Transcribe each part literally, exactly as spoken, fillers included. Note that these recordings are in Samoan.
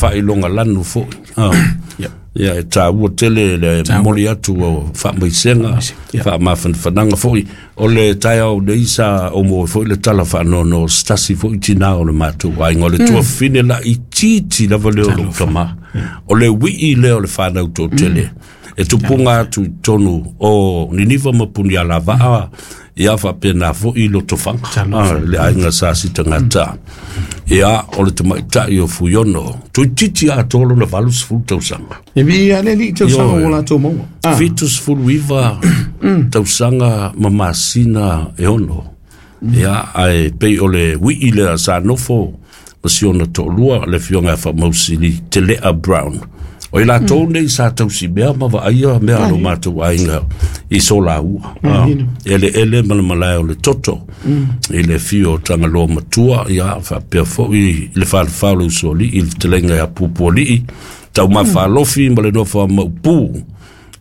Faailoga lanu foʻi. Ia. Ia e tāua tele le momoli atu o faamaisega, faamafanafanaga foʻi. O le taeao nei sa omo ai foi le tala faanoanoa o se tasi foʻi tinā o le matou aiga, o le tuafafine laʻitiiti lava lea o lou tamā, o le uiʻi lea o le fanau toʻatele e tupuga atu i totonu o Niniva ma Punialavaa, ia faapena foʻi Lotofaga, le aiga sa sitagata. Ia o le tamaitaʻi o Fuiono toeititi atoa lona valu sefulu tausaga. E viia le alii tausaga ua latou maua. Fitu sefulu iva tausaga ma masina e ono. Ia ae pei o le uiʻi lea sa nofo ma si ona toʻalua, le afioga ia Faamausili Telea Brown. O i latou nei sa tausimea ma vaaia mea a lo matou aiga i solaua eleele ma le malae o le toto i le afio o Tagaloa Matua, ia faapea foʻi i le falefa o le usoalii i le fetalaiga ia Pupualii Taumafalofi ma le nofo a Maupū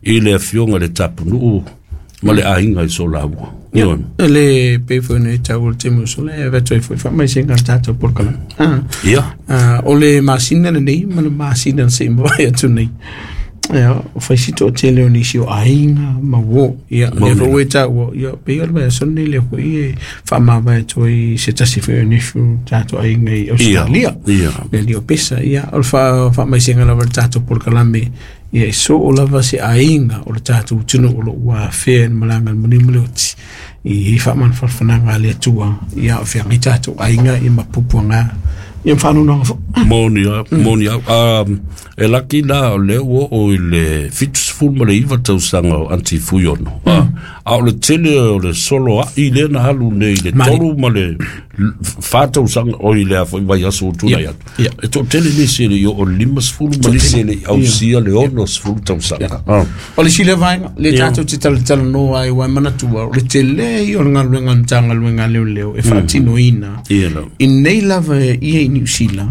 i le afioga i le Tapunuu ma le aiga i solaua. Ia, le pei foi ona e taua le taimi ua sola, e avatu ai foi faamaisega i le tatou polokalame. Ah, Ia. Ah, o le masina lenei ma le masina na se i mavae atu nei. Ia, o fai si toatele o nisi o aiga ma uō. Ia, lea foi ua e taua, ia, pei o le vaiaso lenei lea foi e faamavae atu ai se tasi foi o nefu o tatou aiga i Ausetalia. Ia. Le alii o Pesa. Ia, o le faamaisega lava i le tatou polokalame, ia e soo lava se aiga o le tatou atunuu o lo o ua afea i le malaga a le manu ma le oti i i faamanufarafanaga a le Atua, ia o feagai tatou aiga ia ma puapuaga ia ma faanoanoaga foi. Moni lava, moni lava. Um, e laki la o lea ua oo i le fitu sefulu ma le iva tausaga o Aunty Fuiono. Mm. A o le tele o le solo aʻi lea na alu nei i le tolu ma le fa tausaga, oi le a foi vaiaso ua tulai atu. E toatele nisi e le i oo i le lima sefulu ma nisi e le i ausia le ono sefulu tausaga. O le isi lea vaega lea tatou te talatalanoa ai, ua e manatua o le tele ia o le galuega a le Matagaluega a Leoleo e faatinoina i nei lava ia i Niu Sila,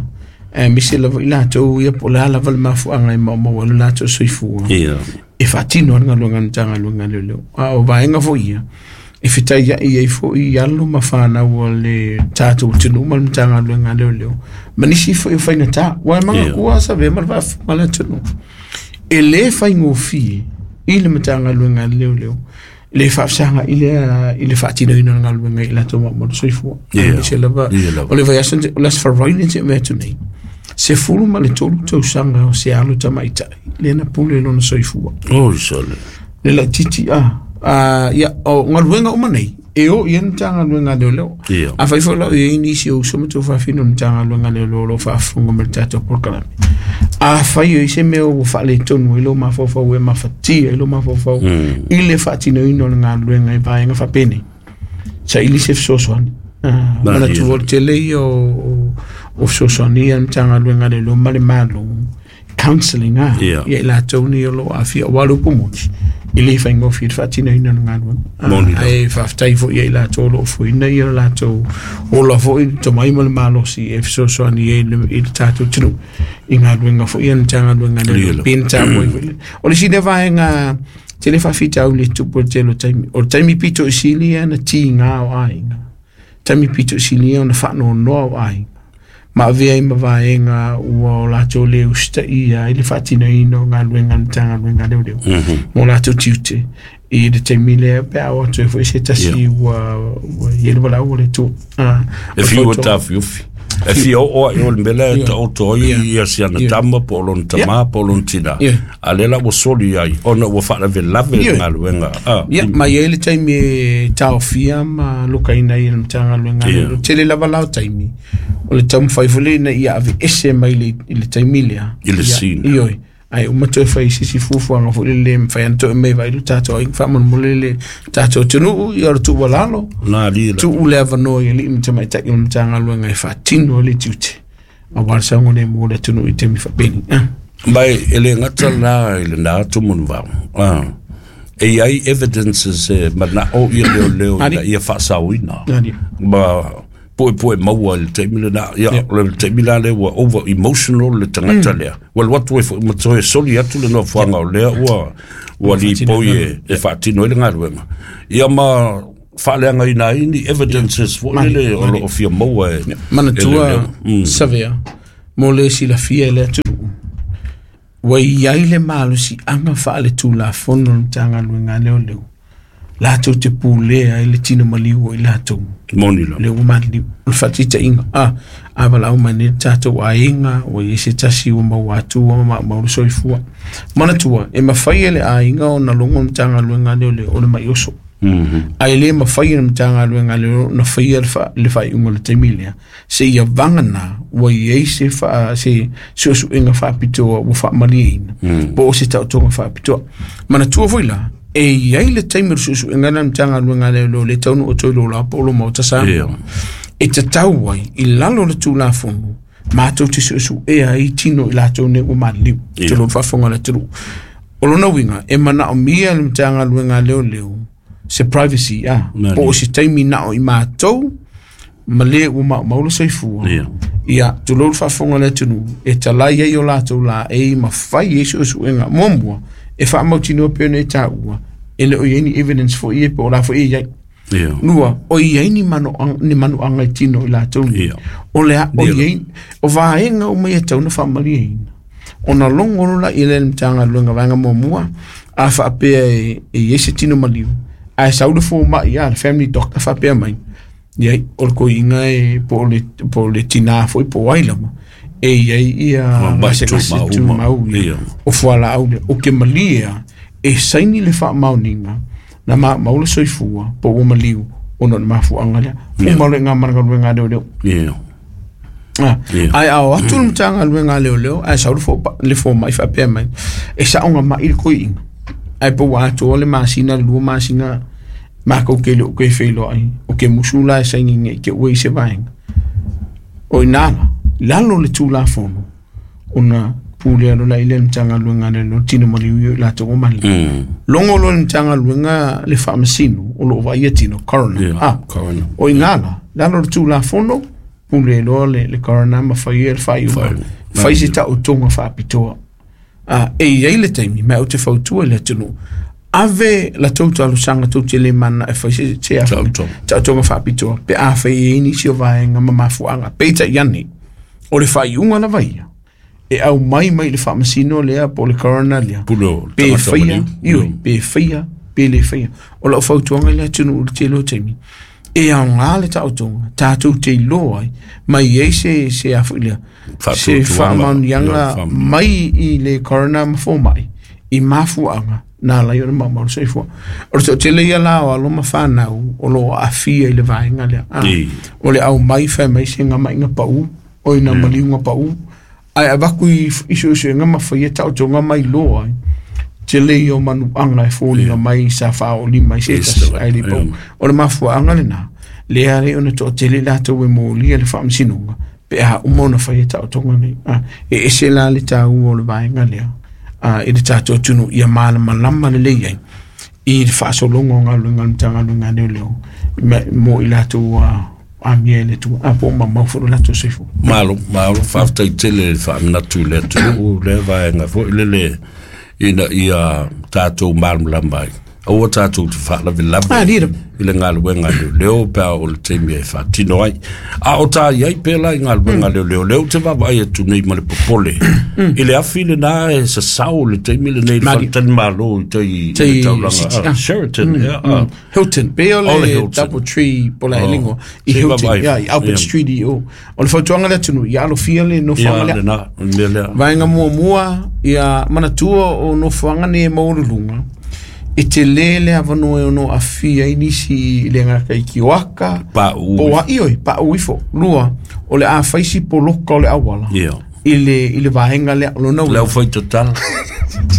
aemaise lava i latou ia po o le a lava le mafuaaga e maumau ai lo latou soifua, e faatino ai le galuega a le Matagaluega a Leoleo. A o vaega foi ia e fetaiai ai foi alo ma fanau a le tatou atunuu ma le Matagaluega a Leoleo ma nisi foi o faigata. Ua e manatua Savea ma le faafofoga a le atunuu, e lē faigofie i le Matagaluega a Leoleo le faafesagai lea i le faatinoina o le galuega i latou maumau le soifua. Aemaise lava o le vaiaso, o le Aso Faraile na tea atu nei, sefulu ma le tolu tausaga o se alo tamaitai lea na pule lona soifua. Oi sole. Le laitiiti a. Ah, ia, o galuega uma nei, e o i ai le Matagaluega a Leoleo. Afai foi la o i ai nisi o uso ma tuafafine o le Matagaluega a Leoleo o lo o faafofoga mai i le tatou polokalame, afai o i ai se mea ua faaletonu ai lou mafaufau e mafatia ai lou mafaufau i le faatinoina o le galuega i vaega faapenei, saili se fesoasoani. Ah, manatua o le tele ia o, o fesoasoani ia a le Matagaluega a Leoleo ma le Malo, counselling a Ia. ia i latou nei o lo o aafia, aua o le upu moni, e le faigofie le faatinoina o le galuega. Moni lava. Ae faafetai foi ia i latou o lo o foeina ia latou ola foi le tomai ma le malosi e fesoasoani ai i le, i le tatou atunuu i galuega foi ia a le Matagaluega a Leoleo. Ia lava. Pe na taua ai foi le. O le isi lea vaega tele faafitauli e tupu i le tele o taimi, o le taimi pito i sili ia na tiga o aiga, taimi pito i sili ia ona faanoanoa o aiga ma avea ai ma vaega ua o latou le usitaia ai le faatinoina o galuega a le Matagaluega a Leoleo ma o latou tiute i le taimi lea pe a oo atu ai foi se tasi ua ua i ai le valaau a le Atua. Ah, E o le fiu e fautuaga. taofiofi. E fia oo ai o le mea lea e taoto ai ia si ana tama po o lona tamā po o lona tinā. A o lea la ua soli ai ona ua faalavelave le galuega. Ah, Ia, ma e i ai le taimi e taofia ma lokaina ai e le Matagaluega a Leoleo. Tele lava la o taimi o le taumafai foi lea ina ia aveese mai le, i le taimi lea. I le Ia, scene. Ioe. Ae uma toe fai se isi fuafuaga foi lele e mafai ona toe mai vaai lo tatou aiga faamolemole le tatou atunuu, ia o le tuualalo, Na alii la. tuu le avanoa i alii ma tamaitai o le Matagaluega e faatino ai le tiute aua le saogalemu o le atunuu i taimi faapeni. Ah. Ma e le gata la i lena atu manuvao. Ah. E i ai evidences e manao ia leoleo Ali. ina ia faasaoina. Ali. Ma puepue maua i le taimi lena. Ia, o le taimi la lea ua over emotional le tagata lea. Ua alu atu ai foi ma toe soli atu le nofoaga o lea ua ua lipoi e, e faatino ai le galuega. Ia ma faaleagaina ai ni evidences foi lele o lo o fia maua e e Manatua leoleo. Savea, Mo le silafia i le atunuu ua i ai le malosiaga faaletulafono o le Matagaluega a Leoleo latou te pulea ai le tino maliu o i latou Moni la. Le ua maliliu o le faataitaiga a a valaau mai nei le tatou aiga ua i ai se tasi ua maua atu ua maumau le soifua. Manatua e mafai e le aiga ona logo le Matagaluega a Leoleo o le mai oso. Mhm. Ae le mafai e le Matagaluega a Leoleo ona faia le fa- le faaiuga o le taimi lea seia vagana ua i ai se fa- se suesuega faapitoa ua faamalieina po o se taotoga faapitoa. Manatua foi la e i ai le taimi o le suesuega lea a le Matagaluega a Leoleo le taunuu atu ai i lou la po o lou maota Samoa. Ia. E tatau ai i lalo o le Tulafono matou te suesuea ai tino i latou nei ua maliliu. Ia. Tulou le faafofoga a le atunuu. O lona uiga e manaomia e le Matagaluega a Leoleo se privacy a Mali. po o se taimi na o i matou ma le ua maumau le soifua. Ia. Ia, tulou le faafofoga a le atunuu e talai ai o latou laei ma fai ai suesuega muamua e faamautinoa pei ona e taua e le o i ai ni evidence foi ia po o la foi e i ai. Ia. Lua, o i ai ni manoaga, ni manuaga i tino i latou nei. Ia. O le a, o Ia. i ai, o vaega uma ia e tatau ona faamalieina. Ona logo loa i le Matagaluega vaega muamua, a faapea e, e i ai se tino maliu, ae sau le fomai a le family doctor faapea mai, ia, o le koiga e po o le, po o le tinā foi po o ai lava, e i ai ia O mai gasegase tumau uma. tumau ia. Ia. O fualaau lea, o ke malie a, e saini le faamaoniga na maumau le soifua po ua maliu ona o le mafuaaga lea. Uma loa i gā ma le galuega a leoleo. Ia. Ah, Ia. ae a o atu le Matagaluega a Leoleo ae sau le fo- le fomai faapea mai e saoga mai le koiiga ae po ua atoa le masina le lua masina makou ke le o ke feiloai o ke musu la e saini nei ke ua i se vaega o ina la lalo le Tulafono ona pulea loa la i le Matagaluega a Leoleo tino maliu ia i latou ua maliliu. Mm. Logo loa le Matagaluega le faamasino o loo vaaia tino coroner. Ia. Ah, Coroner. o ina la lalo le Tulafono pule loa le, le coroner ma faia le faaiuga Faaiuga. fai se taotoga faapitoa. Ah, e i ai le taimi ma ou te fautua i le atunuu ave la tou talosaga tou te le mana e fai se se a Taotoga. taotoga faapitoa pe a fai e ai nisi o vaega ma mafuaaga peitai ane o le faaiuga lava ia e aumai mai le faamasino lea po o le coroner lea Pule o le pe tagata faia maliu. ioe pe faia pe le faia o lau fautuaga i le atunuu i le tele o taimi e aogā le taotoga tatou te iloa ai mai ai se se a foi lea se Faatuatuaga. faamaoniaga Ia, faamaoniaga. mai i le coroner ma fomai i mafuaaga na ala ai ona maumau le soifua. O le toatele ia la o alo ma fanau o loo aafia i le vaega lea. Ah, I. o le aumai fai mai se gamaiga pau o ina maliuga pau ae avaku i, i suesuega ma faia taotoga mai loa ai tele ia o manuaga e foliga mai sa faaolima i se Yes, tasi lava. ae le pau. Ia. O le mafuaaga lenā lea alai ona toatele i latou e molia le faamasinoga pe a uma ona faia taotoga nei. Ah, e ese la le taua o le vaega lea ah, i le tatou atunuu ia malamalama lelei ai i le faasologa o galuega a le Matagaluega a Leoleo ma- mo i latou ua amia i le Atua a po o mamau foi lo latou soifua. Malo, malo, faafetai tele le faamanatu i le atunuu lea vaega foi lele ina ia tatou malamalama ai. Aua tatou te faalavelave Ah, lira. i le galuega a leoleo pe a o le taimi e faatino ai. A o tā i ai pea la i galuega a leoleo, lea ou te vaavaai atu nei ma le popole. I le afi lenā e sasao le taimi lenei le Mali. faletalimalo i tai i Tai le taulaga. City, ah, ah. Sheraton, ia, ah. Hilton, pe o O le le Hilton. Double Tree po la Oh. elingo i Se Hilton, vaavaai. ia, i Albert Ia. Street i o. O le fautuaga le atunuu, ia alofia le Ia, nofoaga lea. lenā, o le mea lea. Vaega muamua, ia manatua o nofoaga nei e maualuluga, e tele le avanoa e ono aafia ai nisi i le gata i kioaka, Paʻu. po o a- ioe, paʻu ifo. Lua, o le a fai si poloka o le auala. Ia. I le, i le vaega lea, o lona Le uiga. au fai tatala.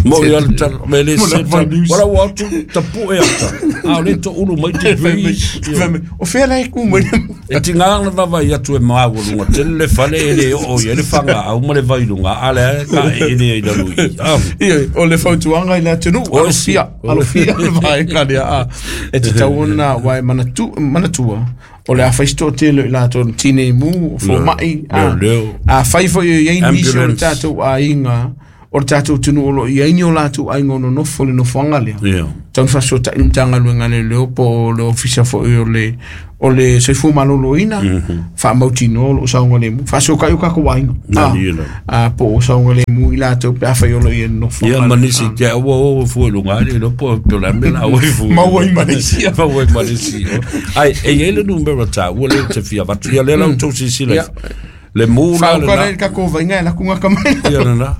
Mo ia le tala, me le Mo le se fai news. Wala ua atu tapu e ata. A o le to ulu mai te breeze. Fai mai, o fea la e ku mai le- E tinga na vava i atu e maua lunga. Tele le fale e le o i e le whanga au ma le vai lunga. A le a ka e le i lalu i. Ah, Ioe, o le fautuaga i le atunuu, O alofia, si. alofia le vaega lea, a. E tatau ona ua e manatu, manatua, o le a fai se toatele i latou na tinei mu, o fomai, a. Leoleo. A fai foi o i ai nisi o le Ambulance. tatou aiga, o o le tatou atunuu o loo i ai ni o latou aiga o nonofo le nofoaga lea tau ona faasoata'i le Matagaluega a Leoleo po o le ofisa fo'i o le o le soifua maloloina faamautinoa o loo saogalemu faasoata'i o tatou aiga a po o saogalemu i latou pe afai o loo i ai nofoaga ia ma nisi te aua o fua i luga ale lo po o la mea la oi fu maua i Malaysia maua i Malaysia ai e i ai le numera taua lea ou te fia avatu ia lea la outou silasila le mu la le na ka ko vainga la kunga ka mai ia na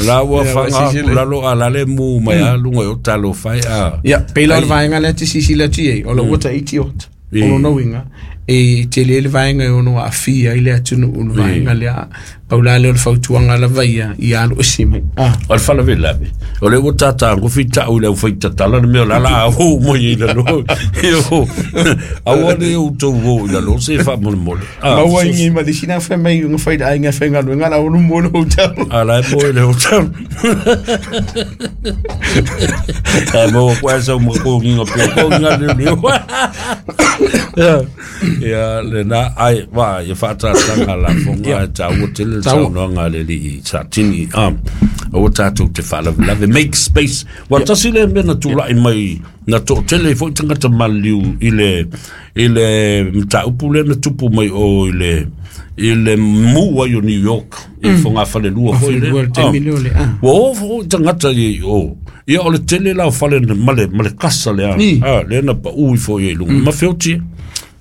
la ua fanga la lo ala le mu mai a lunga o talo fai a ia pela le vainga le ti sisi la ti o lo wata iti ot o lo no e tele le vainga o no afia ile atunu o vainga le paula le fautuanga la vaia ia alu isi mai a o le fala vela o le ua tata ko fita o le fai tatala le mea la la o mo i la lo yo aua le o to o la lo se fa mo mo a maua i ma le sina fa mai ngo fai da inga fa nga nga la o mo le hotel a la mo le hotel a mo kwa sa mo ko nginga pe ko nga le le ia le na ai va ia fa ta tanga la fonga ta o tele saunoaga le alii Satini um o tatou te faalavelave make space ua tasi le mea na tula'i mai na to'atele foi tagata maliliu i le i le mataupu lea na tupu mai o i le i le mu ai o New York i fogafalelua foi lea ua oo foi tagata i o ia o le tele la o fale ma le ma le kasa lea a lea na pa'u ifo i luga ma feotie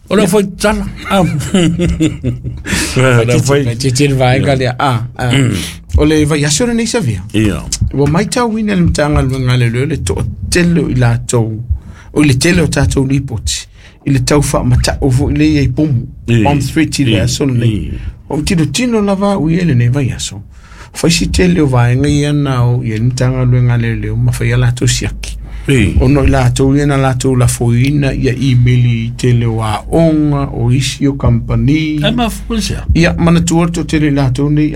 o le foi tala a la foi te vaega lea a o le vaiaso lenei savea ia ua maitauina le Matagaluega a Leoleo le to'atele o i latou o le tele o tatou lipoti i le tau faamata'u fo'i lea i pomu bomb threat i le aso lenei o tilotilo lava a'u ia lenei vaiaso faisi tele o vaega ia na o ia le Matagaluega a Leoleo ma faia latou siaki ona i latou ia na latou lafoina ia email i tele o aoga o isi o kampani e mafuisia ia manatua le toatele i latou nei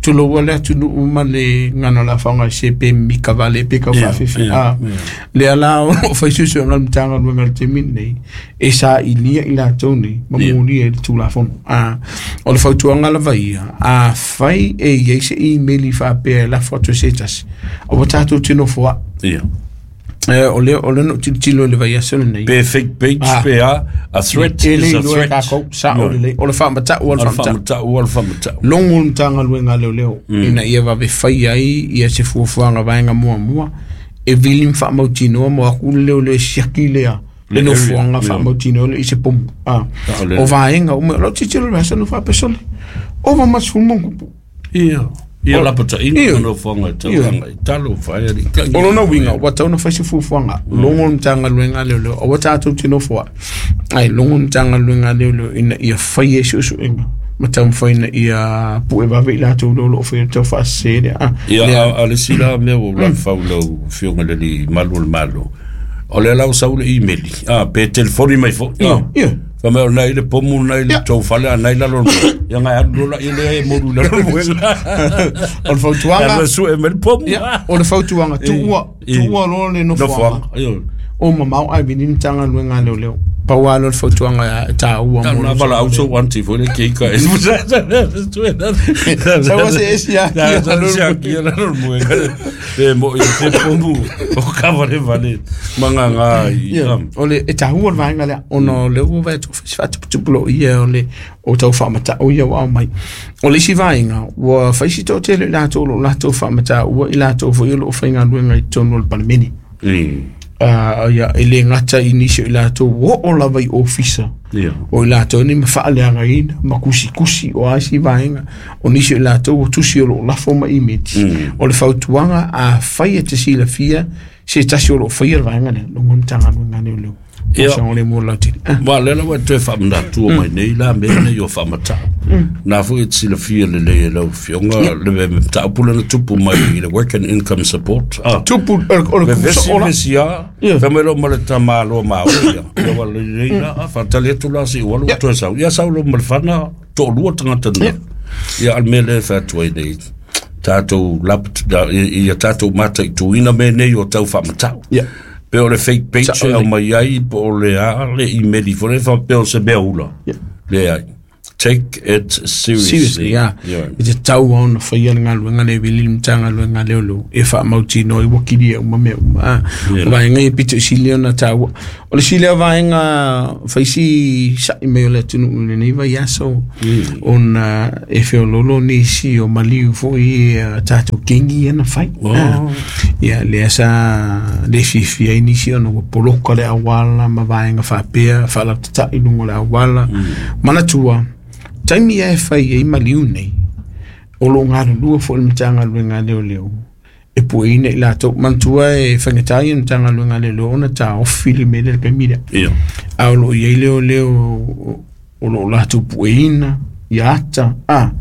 tuloua le atunuu ma le gana o le afaga se pe mika vale pe kau faafefe a lea la o faisusuega le Matagaluega le taimi lenei e sailia i latou nei ma mulia i le tulafono a o le fautuaga lava ia a fai e iai se email faapea e lafo atu e se tasi aua tatou te nofo a'i ia o le o le no tilotilo le vaiaso lenei pe fake page pe a a threat is a threat sa o le o le faamata'u o le faamata'u o le faamata'u logo le Matagaluega a Leoleo ina ia vave fai ai ia se fuafuaga vaega muamua e vili ma faamautinoa mo aku le leo le siaki lea le nofoaga faamautinoa le i se pomu a o vaega uma o lau tilotilo le vaiaso no faapesole ova ma sefulu ma ona tupu ia ia lapataʻiga ma nofoaga e tauaga i talo fai alii o lona uiga ua tau ona fai se fuafuaga logo le Matagaluega a Leoleo aua tatou te nofo a'i ai logo le Matagaluega a Leoleo ina ia fai ai suesuega ma taumafai ina ia pu'e vave i latou lea o loo faia le tau faasese lea a ia a le isi la mea ua lafau lau afioga i le alii malu o le Malo o lea la ua sau le email a pe telefoni mai fo'i ia fa mai o nai le pomu nai le tou fale a nai lalo ia ngai alu lola ia lea e moru i lalo moega o le fautuaga ia sue mai le pomu o le fautuaga tuua tuua loa le nofoaga o mamao ai vili le Matagaluega a Leoleo pau lava lea o le fautuaga e taua mo le valaau sou anti foi le keika e saua se esi akia lalo moega pe mo i te pomu o kavalevale magaga i o le e taua le vaega lea ona o lea ua vaai atu se faatuputupu loo ia o le o tau faamata'u ia ua aumai o le isi vaega ua faisi toatele i latou o loo latou faamata'ua i latou foi o loo faigaluega i totonu o le Palemene Uh, ia e le gata i nisi o i latou oo lava i ofisa o i latou nei ma faaleagaina ma kusikusi o a isi vaega o nisi o i latou o tusi o loo lafo ma imeti o le fautuaga a fai e te silafia se tasi o loo faia le vaega lea logo le Matagaluega a Leoleo Ia le mo lautele wa le la ua toe faamanatu mai nei la mea nei o faamata'u na foi e te silafia lelei e lau afioga le mataupu lena tupu mai i le work and income support tupu o le vesi vesi a fa mai lo ma le tamāloa maua ia ia ua lelei la faatali atu la seʻi alu toe sau ia sau lo ma le fana to'alua tagata na ia a le mea lea e faiatu ai nei tatou ia tatou mataituina mea nei o tau faamata'u pe o le fake page e au mai ai po o le a le email ifo le faapea o se mea ula le ai Take it seriously. Seriously, yeah. Yeah. I te tau ona whaia le ngaluenga le vili le Matagaluega a Leoleo e whaamautino i wakili e uma mea uma. Ah, Yeah. o vaenga e pito i sili ona taua. O le sili o vaenga whaisi sa'i mai o le atunuu i lenei vai aso Mm. ona e feololo nisi o maliu foi e tātou kengi ana whai. Oh. Ah. Ia, lea sa le fiafia ai nisi ona ua poloka le awala ma vaenga whaapea, whaalautatai lunga o le awala. Manatua, taimi e whai e maliu nei, o lo ngā lua fo le Matagaluega a Leoleo, e pueina i latou. Manatua e whangatai e Matagaluega a Leoleo ona tā ofi le mele le kaimi lea. Ia. A o lo iai leoleo o lo latou pueina, i ata, a,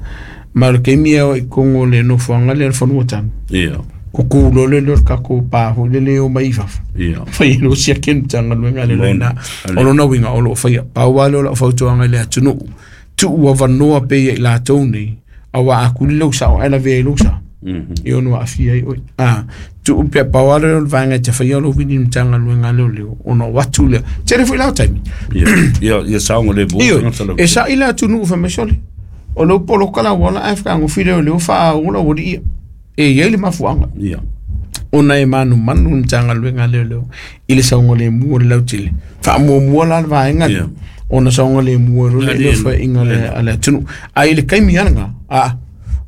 ma o le kaimi e o i kongo le nofoanga le whanua tanu. Ia. Ko kūlo le leo kako pāho le leo mai fafa. Ia. Whai e lo sia ke Matagaluega a Leoleo Moni. ina. O lona uiga o loo faia pau lava lea o lau fautuaga i le atunuu tuu avanoa pei i latou nei auā a kuli lou sao ae lavea i lou sa Mhm. e ono aafia ai oe a tuu pea pau lava lea o le vaega e te faia lou vili i le Matagaluega a Leoleo ona o atu lea tele foi lao taimi. Ia. Ia, ia saoga le mo Ioe, tagata lau e sa'i le atunuu faimaisole o lou poloka lauala ae fekagofi leoleo faaola ua liia e iai le mafuaga Ia. ona e manumanu le Matagaluega a Leoleo i le saogalemu o le lautele faamuamua la le vaega lea Ia. ona saogalemu ai loa le Ali- leo faiʻiga le a le atunuu ae i le kaimi alaga a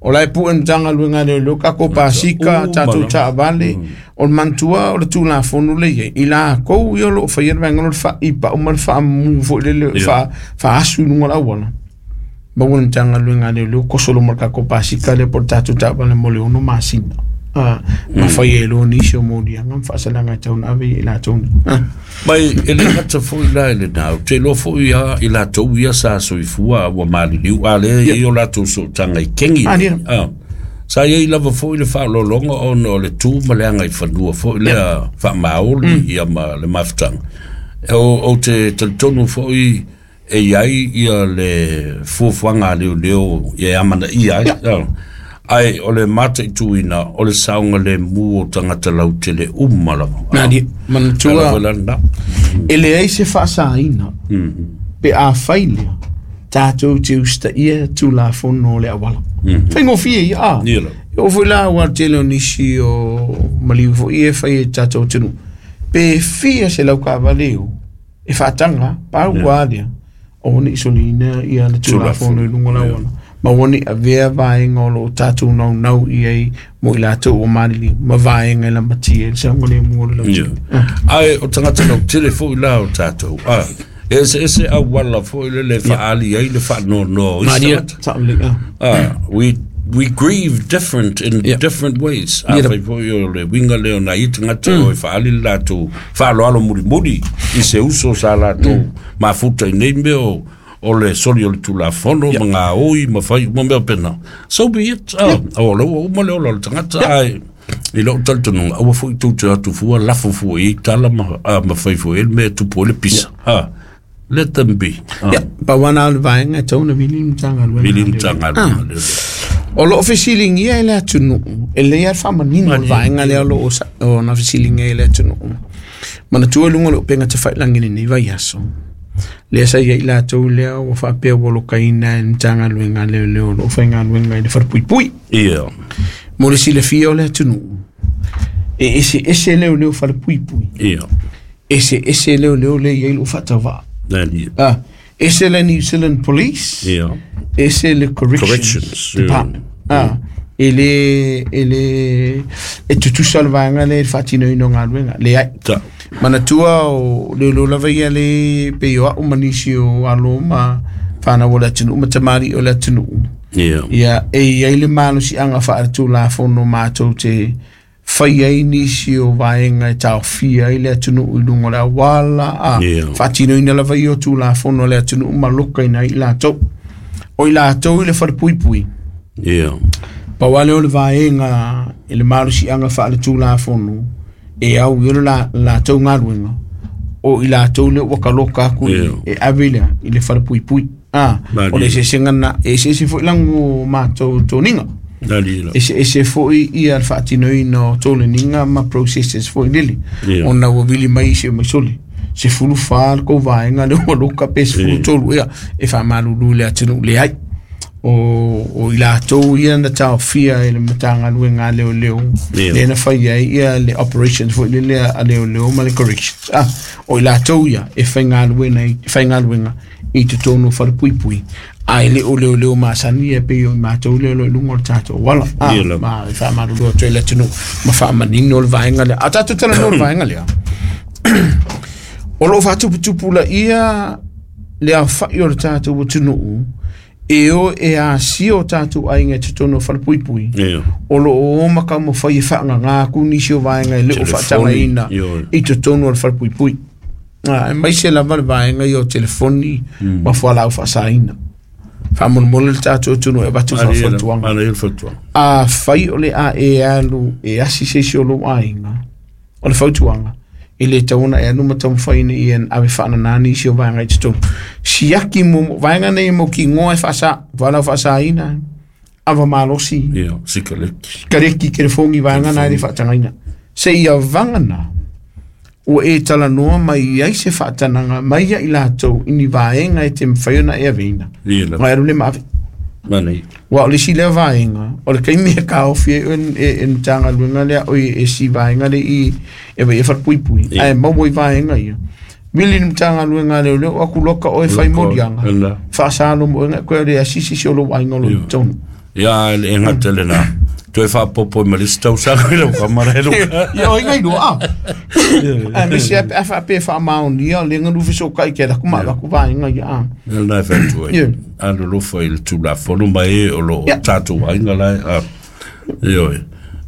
o lae puʻe le Matagaluega a Leoleo takou pasika Uma tatou la. taavale o le manatua o le tulafono le iai i lakou ia o loo faia le vaega lo le faaipaʻu ma le faamumu foʻi lele Ia. fa faasu i luga o le auala maua le Matagaluega a Leoleo kosolo ma le takou pasika lea po o le tatou taavale mo le ono masina ah, ma fai e loa nisi o moliaga ma faasalaga e tau na ave i latou nei. Ah. Mai e le gata foi la i le nau, te loa foi a i latou ia sa soifua ua maliliu a lea i o latou sootaga i kengi. Ah, ia. Ah. Sa iai lava foi le faalologa ona o le tū ma le aga i fanua foi lea faamaoli ia ma le mafutaga. O, o te talitonu foi e iai ia le fuafuaga a leoleo ia e amanaia ai. Ah. Ai o le mataituina o le saoga lemu o tagata lautele uma lava. Na di Ala manatua foi la lena. e leai se faasaina Mhm. pe a fai lea tatou te usitaia tulafono o le auala. Faigofie ia a. Ia la. E oo foi la ua tele o nisi o maliu foi e fai e tatou atunuu. Pe fia se laukaavale o e faataga pau a lea o nei soliina ia le tulafono i luga o le auala. Ma ua nei avea vaega o loo tatou naunau i ai mo i latou o maliliu ma vaega e lamatia ai le saogalemu o le Ia. lautele. Ai o tagata lautele foi la o tatou. Ah, e ese ese auala foi le le faali ai le faanoanoa o isi Maria, tagata. saolelei ah. Ah, we we grieve different in Yeah. different ways. A Yeah. fai foi o le winga lea o nai tagata o e faali le latou faaaloalo mulimuli i se uso sa latou mafuta i nei mea o o le soli o le tulafono ma ngā oi ma fai uma mea pena. So be it. Ah, o le ua uma le ola o le tagata ai i lou talitonuga aua foi tou te atu fua lafo fua i ai tala ma, ah, ma fai foi e le mea e tupu ai le pisa. Ah, let them be. Ah, Ia, pauana o le vaega e tau na vili le Matagaluega. vili le Matagaluega lea. O loo fesiligia e le atunuu, e lei a le faamanino o le vaega lea o loo sa- o na fesiligia e le atunuu. Manatua i luga o le upega tafailagi lenei vaiaso. Lea sa iai latou lea ua faapea ua lokaina e le Matagaluega a Leoleo o loo faigaluega i le falepuipui. Ia. Mo le silafia o le atunuu, e eseese leoleo falepuipui. Ia. Eseese leoleo lea i ai loo faatauvaa. Nani. Ah, ese le New Zealand Police, Ia. ese le Corrections, Corrections, yeah. Department. Ah, e le e le e tutusa le vaega lea i le faatinoina o galuega leai. Ta. Manatua o leoleo lava ia le pei o a'u ma nisi o alo ma fanau o le atunuu ma tamali'i o le atunuu. Ia. Ia e iai le malosiaga faaletulafono matou te fai ai nisi o vaega e taofia ai le atunuu i luga o le auala a Ia. faatinoina lava ia o tulafono a le atunuu ma lokaina ai i latou. O i latou i le falepuipui Ia. pau lea o le vaega i le malosiaga faaletulafono e au i o le la- latou galuega o i latou lea ua kaloka aku i Ia. e ave lea i le falepuipui a Malie. o le eseesega na e eseese foi lago matou toniga Nani la. eseese foi ia le faatinoina o toleniga ma processes foi lele Ia. ona ua vili mai isi o maisoli sefulu fa le kou vaega le ua loka pe sefulu tolu ia e faamalulu i le atunuu leai o o i latou ia na taofia i le Matagaluega a Leoleo lea na fai ai ia le operations foi lea a Leoleo ma le corrections ah o i latou ia e faigaluega i faigaluega i totonu o falepuipui ae le o leoleo masani e pei o i matou lea o lo o i luga o le tatou ala ah ma e faamalulu atu ai le atunuu ma faamanino le vaega lea a tatou talanoa le vaega lea o loo faatuputupu laia le aofai o le tatou atunuu e o e asia o tatou aiga i totonu o falepuipui o loo o ma taumafai e faagaga atu nisi o vaega e le o faatagaina i totonu o le falepuipui ah aemaise lava le vaega ia o telefoni ma fualaau faasaina faamolemole le tatou atunuu e avatu faafautuaga afai o le a e alu e asi se isi o lou aiga o le fautuaga e le tatau ona e alu ma taumafai ina ia ave faanana nisi o vaega i totonu siaki mo vaega nei mo kigoa e faasa fualaau faasaina ava malosi sikareki telefoni vaega na e le faatagaina seia vagana ua e talanoa mai ai se faatanaga mai ia i latou i ni vaega e te mafai ona e aveina ma e alu le ma ave ua o le isi lea vaega o le taimi e taofi ai e e Matagaluega lea oi e si vaega le i e vaai e falepuipui ae maua i vaega ia vili le Matagaluega a Leoleo atu loka oe fai moliaga faasalo mo oe koe le asisi si o lou aiga o lo o i totonu ia e gata lena toe faapopo ma le isi tausaga i lau kamara e Ia o ingai lua a aemaise a pe a faapea e faamaonia le galu fesootai ke laku ma laku vaega ia a lena e faiatu ai alolofa i le Tulafono ma e o loo tatou aiga lae a ioe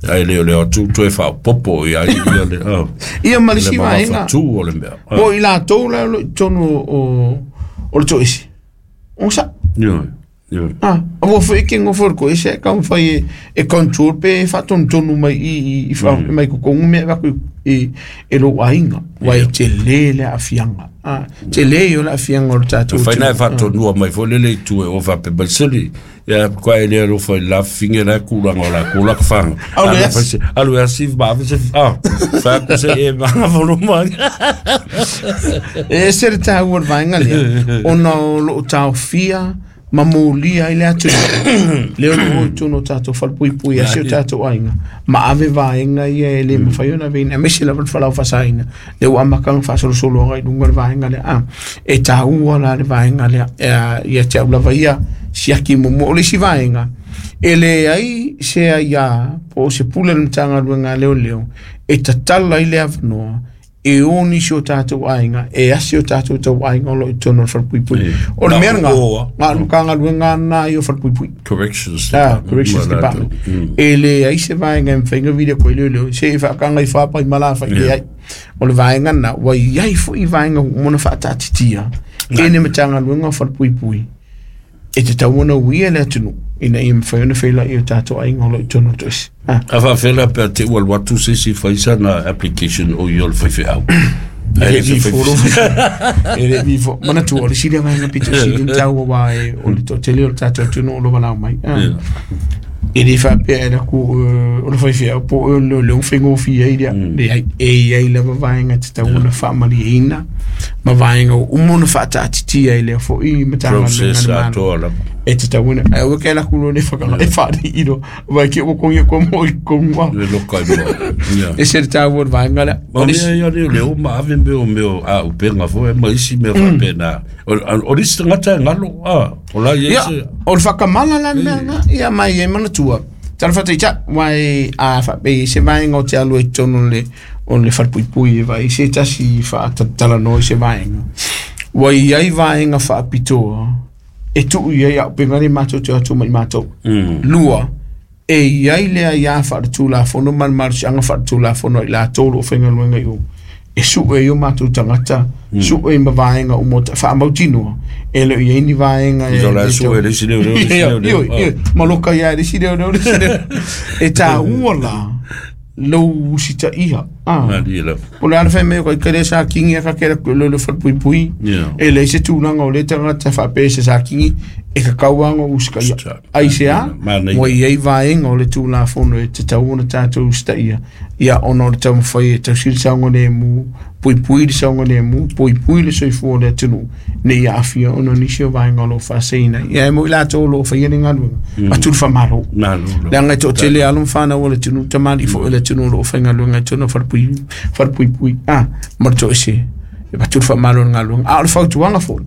ae le o le atu toe faapopo ia ia le ia ma le isi vaega tu o le mea po i latou la o lo o i totonu o o le toese o sa ioe Ah, ua foi ke ngofo ko ese ka mfai e control pe faatonutonu mai i i mai kokogu mea e vaku i e lou aiga ua e tele le aafiaga ah tele o le aafiaga o le tatou faina e faatonua mai foi lele i tu e o faapea mai sili ia koa e le alofa i lafifiga la kulaga o lakou lakafaga alu e asi ma ave se ah faaku se e magafolo mai e ese le taua o le vaega lea ona o loo taofia ma molia ai le atunuu lea o loo i totonu o tatou falepuipui asi o tatou aiga ma ave vaega ia e le mafai ona aveina aemaise lava le fualaau faasaina lea ua amata ona faasolosolo agai luga le vaega lea a e taua la le vaega lea ia te au lava ia siaki muamua o le isi vaega e leai se aiā po o se pule a le Matagaluega a Leoleo e tatala ai le avanoa e o nisi o tatou aiga e asi o tatou tauaiga o loo i totonu o le falepuipui o le mea lena na o le Matagaluega lena ia o falepuipui Corrections ah Corrections Department e leai se vaega e mafai ona vili atu ai leoleo se i faakaga i fapa i malafai leai o le vaega lena ua iai foi vaega uma ona faataatitia e le Matagaluega o Falepuipui e tatau ona uia le atunuu ina ia mafai ona feiloai o tatou aiga o lo o i totonu o le toese a faafela pe a te ua alu atu se isi fai sana application o ia o le faifeau e le vifolo e le vifo manatua o le isi lea vaega pito sili ona taua aua e o le toatele o le tatou atunuu o lo o valaau mai e le faapea e laku o le faifeau po o le leoleo faigofie ai lea leai e iai lava vaega e tatau ona faamalieina ma vaega ua uma ona faataatitia i lea foi Matagaluega a le Malo e tatau ona ae aua ke laku loa le whakanga e whaari iro vai ke o kongi ko mo i konga le loka i mo e se taua o le vaega lea o mea ia leo leo ma ave mea o mea a upenga foi ma isi mea faapena o le isi tagata e galo a o la ia se o le whakamala la mea nga ia mai e manatua tala whataita wai a whape se vaega o te alu e totonu le o le whalepuipui e vai se tasi whaatalanoa i se vaega ua iai vaega faapitoa e tuu iai au penga le matou te o atu mai matou lua e iai lea ia faaletulafono ma le malosiaga faaletulafono ai latou o loo faigaluega i o e sue ai o matou tagata sue ma vaega uma o faamautinoa e le o iai ni vaega e ma loka ia e le isi leoleo le isi leoleo e taua la lou usitaia Ah. O le ala fai mai o kai sa kingi a ka kera le le whalpui. E le se tūlanga o le tangata whape se sa kingi e ka kauanga usika ia. Ai se a, mo i ei vaenga o le tūlafono e te tau ona tātou ustaia. Ia ona o le taumawhai e tausili saunga le mu, pui pui le saunga le mu, pui pui le soifua le atunu. Ne ia awhia ona nisi o vaenga o lo whaaseina. Ia e mo i lātou o lo whaia ni ngaluenga. Atu le whamaro. Le anga e tō tele alo mwhānau o le tunu, tamari fo le tunu o lo whaingaluenga e tunu wharpui, wharpui pui. Ah, mara tō ese. E atu le whamaro le ngaluenga. A o le whautuanga fo.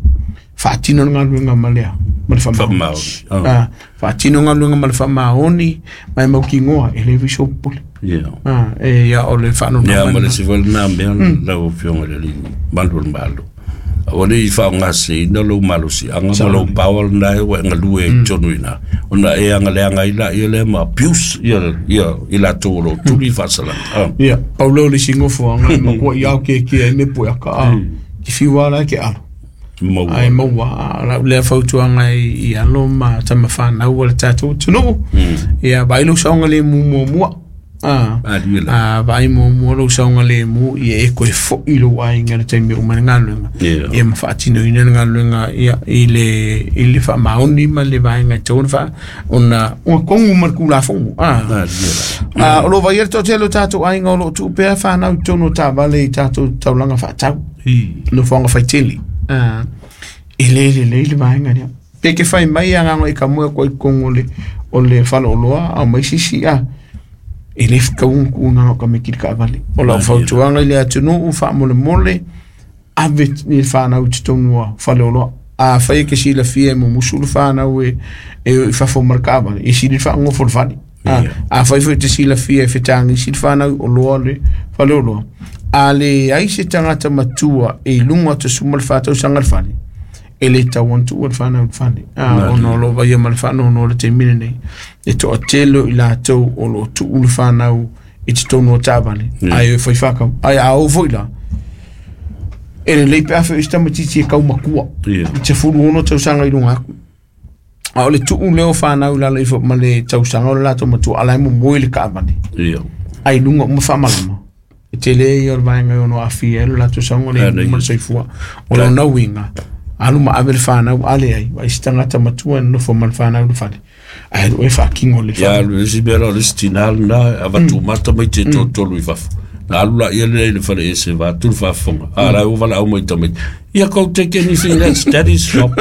Whaatino le ngaluenga malea. Ma le whamaoni. Ah, whaatino ngaluenga ma le whamaoni. Mai mau ki ngoa e le viso pole. Yeah. Ah, e ia o le whanau. Ia, ma le siwale nā mea lau fionga le li malu le malu. O le i whaongase ina lou malosi anga ma lou power na e wa ngalue i tonu ina. Ona e anga le anga ila ia le ma abuse ia ia i la tō tuli whasalanga. Ia, paulo le singofo anga ma kua i au ke kia e me pui aka a. Ki whiwa la ke alo. Maua. Ai maua, la le fautuanga i, i alo ma tama whanau o le tātou tunu. Ia, vai lo saunga le mu mua. Ah, ah, vai mo mo lo saunga le mu i e koe fo i lo ai ngā te me o mana ngaluenga. Ia ma whaatino ina ngaluenga ia i le i le wha maoni ma le vai ngā tōna wha ona o kongu ma ku la fongu. Ah, ah, o lo vai tō te lo tātou ai ngā o lo tūpea whanau tōno tā vale i tātou taulanga whaatau. No whaanga whaiteli. Ah, e le le le le vai ngā rea. Peke whai mai a ngā i ka mua koe kongo le o le whaloloa au mai sisi a e le whakaungu ku ngā ka me kiri ka avale. O lau whautuanga i le atunu u wha mole mole ave ni whanau te tonua whaleoloa. A whai ke sila fia mo musulu whanau e e i whafo marka avale. E sili wha ngofo le whale. A whai whai te sila fia e whitangi sili whanau o loa le whaleoloa. A le ai se tangata matua e lunga te suma le whatau sanga le whale. E le tau antu o le whanau le whale. A ono lo vai ma le whanau ono le te mine nei. E toa telo i lātou o lo tuu le whanau i te tonu o tāvale. Ai e whai whakau. Ai a o foi la. E le leipe awhi i tamatiti e kau makua. I te furu ono tausanga i lunga aku. A o le tuu leo whanau lala i ma le tausanga o le lātou matua alai mo moe le kaavale. Ai lunga uma whamalama. E te le i o le vaenga i ono awhi e le lātou sanga le ma le soifua. O le nauinga. Alu ma ave le whanau ale ai. Vai si tangata matua e nofo ma le whanau le whale. Ai e whakingo le whale. Ia, le si mera le stinal na, avatu mata mai te tōtolu i whafo. Na alu la ia le le whale e se wā, tulu whafonga. A rai o wala au mai tamai. Ia kau take anything that's daddy's shop.